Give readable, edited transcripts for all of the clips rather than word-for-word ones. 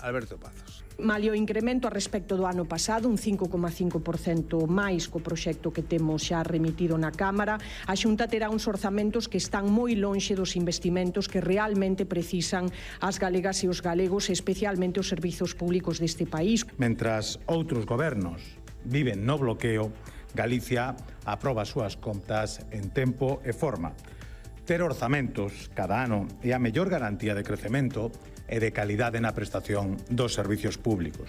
Alberto Pazos. Malia o incremento a respecto do ano pasado, un 5,5% máis co proxecto que temos xa remitido na Cámara, a Xunta terá uns orzamentos que están moi lonxe dos investimentos que realmente precisan as galegas e os galegos, especialmente os servizos públicos deste país. Mentras outros gobernos viven no bloqueo, Galicia aproba as súas contas en tempo e forma. Ter orzamentos cada ano é a mellor garantía de crecemento e de calidade na prestación dos servizos públicos.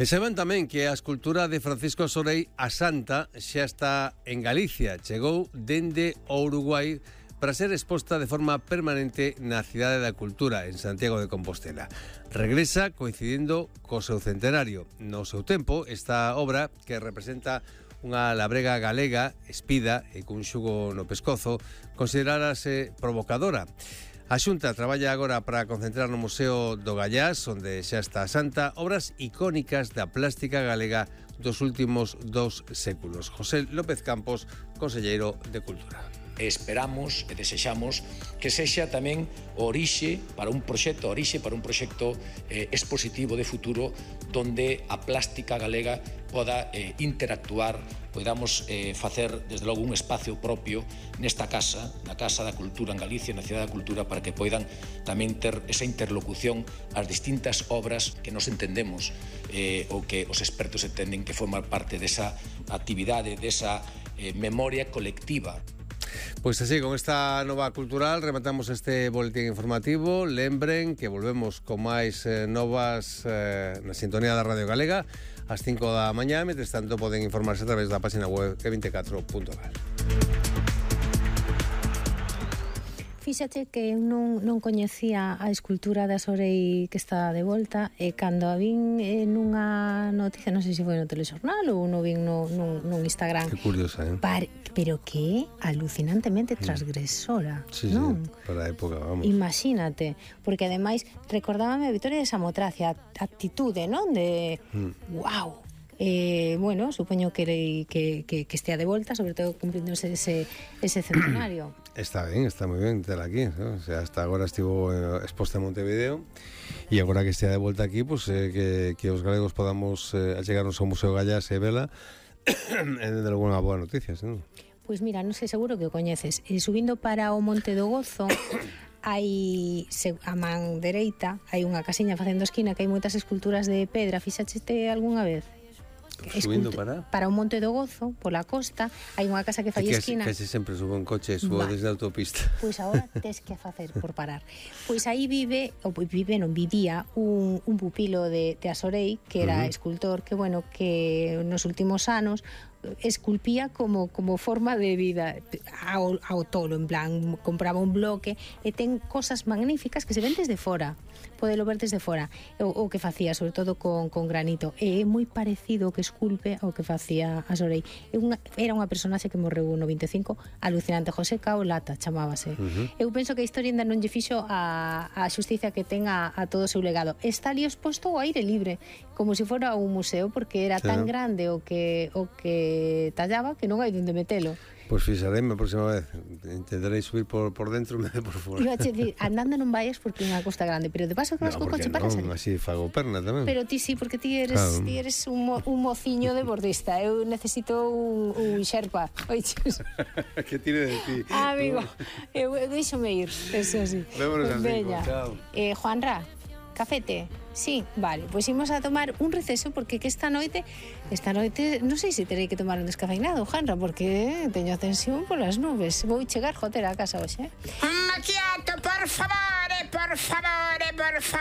E saben tamén que a escultura de Francisco Sorey, a Santa, xa está en Galicia. Chegou dende o Uruguai para ser exposta de forma permanente na Cidade da Cultura, en Santiago de Compostela. Regresa coincidindo co seu centenario. No seu tempo, esta obra, que representa unha labrega galega, espida e cun xugo no pescozo, considerárase provocadora. A Xunta traballa agora para concentrar no Museo do Gallás, onde xa está a Santa, obras icónicas da plástica galega dos últimos 2 séculos. José López Campos, conselleiro de Cultura. Esperamos e desexamos que sexa tamén orixe para un proxecto expositivo de futuro donde a plástica galega poda interactuar, podamos facer desde logo un espacio propio nesta casa, na Casa da Cultura en Galicia, na Cidade da Cultura, para que poidan tamén ter esa interlocución ás distintas obras que nos entendemos ou que os expertos entenden que forman parte desa actividade, desa memoria colectiva. Pois así, con esta nova cultural rematamos este boletín informativo. Lembren que volvemos con máis novas na sintonía da Radio Galega ás 5 da mañá. Mentres tanto, poden informarse a través da página web que24.gal. Fíxate que eu non coñecía a escultura da Sorey que está de volta, e cando a vin nunha noticia, non sei se foi no telexornal ou non vin nun Instagram. Que curiosa, Pero que alucinantemente transgresora, sí, non? Sí, para a época, vamos. Imagínate, porque ademais recordábame a Vitoria de Samotracia, a actitude, non? De wow. Bueno, supoño que estea de volta, sobre todo cumplíndose ese centenario. Está ben, está moi ben ter aquí, ¿no? O sea, hasta agora estivo exposta en Montevideo e agora que estea de volta aquí, pues, que os galegos podamos achegarnos ao Museo Gallás e vela é de alguna boa noticia, ¿no? Pois mira, non sei, seguro que o coñeces. Subindo para o Monte do Gozo hai a man dereita, hai unha casiña facendo esquina que hai moitas esculturas de pedra. Fixaste algunha vez? Subindo para o Monte do Gozo, pola costa, hai unha casa que fai esquina. Que sempre subo en coche, subo desde a autopista. Pois agora tes que facer por parar. Pois aí vivía un pupilo de Sorey, que era escultor, que bueno, que nos últimos anos esculpía como forma de vida ao tolo, en plan, compraba un bloque e ten cosas magníficas que se ven desde fora, podelo ver desde fora, o que facía, sobre todo con granito, e é moi parecido o que esculpe ao que facía a Sorey. Era unha personaxe que morreu no 25, alucinante. José Cao Lata chamábase. Eu penso que a historia ainda non lle fixo a xustiza que ten a todo o seu legado. Está ali exposto ao aire libre, como se fora un museo, porque era tan grande o que tallaba que non hai onde metelo. Pois fixareme a próxima vez. Intentarei subir por dentro e me por fora. Iba a decir, andando non vayas porque é unha costa grande, pero de paso que vas co coche para salir. Así fago perna tamén. Pero ti sí, porque ti eres un mociño de bordista. Eu necesito un xerpa. Oiches. Que tire de ti. Amigo, eu deixome ir. Eso sí. Vémonos a 5, chao. Juanra, cafete? Sí, vale, pois imos a tomar un receso porque que esta noite non sei se terei que tomar un descafeinado, Janra, porque teño a tensión polas nubes. Vou chegar jotera a casa hoxe. Un macchiato, por favore, por favore, por favore.